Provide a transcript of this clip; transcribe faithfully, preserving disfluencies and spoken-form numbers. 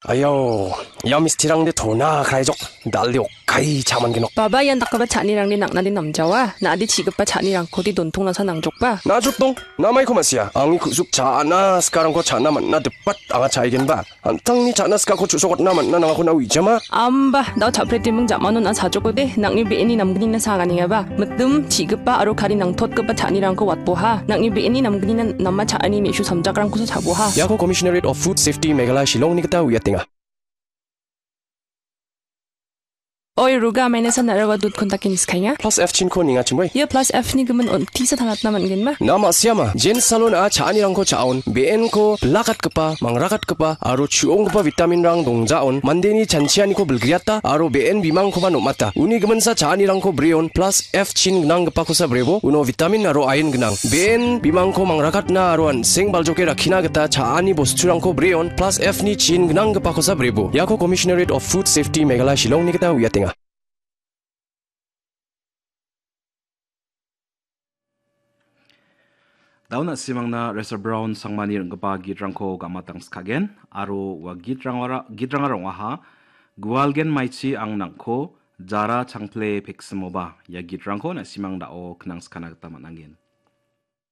Ayau, ia mistirangde tona kraijok, dalde okkai chaman genok. Baba ian dakgipa cha·anirangde nang·nade namjawa, na·ade chigipa cha·nirangkode dontong nasa nangjokba. Najotdong, namaiko ma·sia, angni ku·suk cha·na sikarangko cha·na man·na dipat anga cha·aigenba. An·tangni cha·na sikako chu·sokatna man·na nangako na uijama. Amba, dao cha·pretiming ja·manon a sajokode, nang·ni be·eni namgnina saganengaba. Mitim, chigipa aro kari nangtotgipa cha·anirangko watboha. Nang·ni be·eni namgnina nama cha·ani me·su samjakrangkosa chaboha. Iako Commissionerate of Food Safety Meghalaya Shillongni gita uiatenga. Oi, Ruga, amaina sa narawa dut kontakin skainga. Plus F chinko ninga chimoi. Ia plus F ni gimin on tisa tangatna man·genma. Nama siama, jen salon a cha·anirangko cha·on, be·enko bilakatgipa, mangrakatgipa, aro chu·onggipa vitaminrang dongjaon, mandeni chanchianiko bilgriata, aro be·en bimangkoba nom·ata. Uni giminsa cha·anirangko breon, plus F chin gnanggipakosa brebo, uno vitamin aro ain gnang. Be·en bimangko mangrakatna aro an·seng baljoke rakkina gita cha·ani bosturangko breon, plus F ni chin gnanggipakosa brebo. Iako Commissionerate of Food Safety Meghalaya Shillongni gita uiatenga. Daun na·simangna Resa Brown Sangmani ring·gipa gitrangko gamatangskagen, aro ua gitrangara-, gitrangara ong·aha, Gualgen maichi ang nang·ko, jara changple peksimoba, ia gitrangko na·simang da·o knangskana gita man·angen.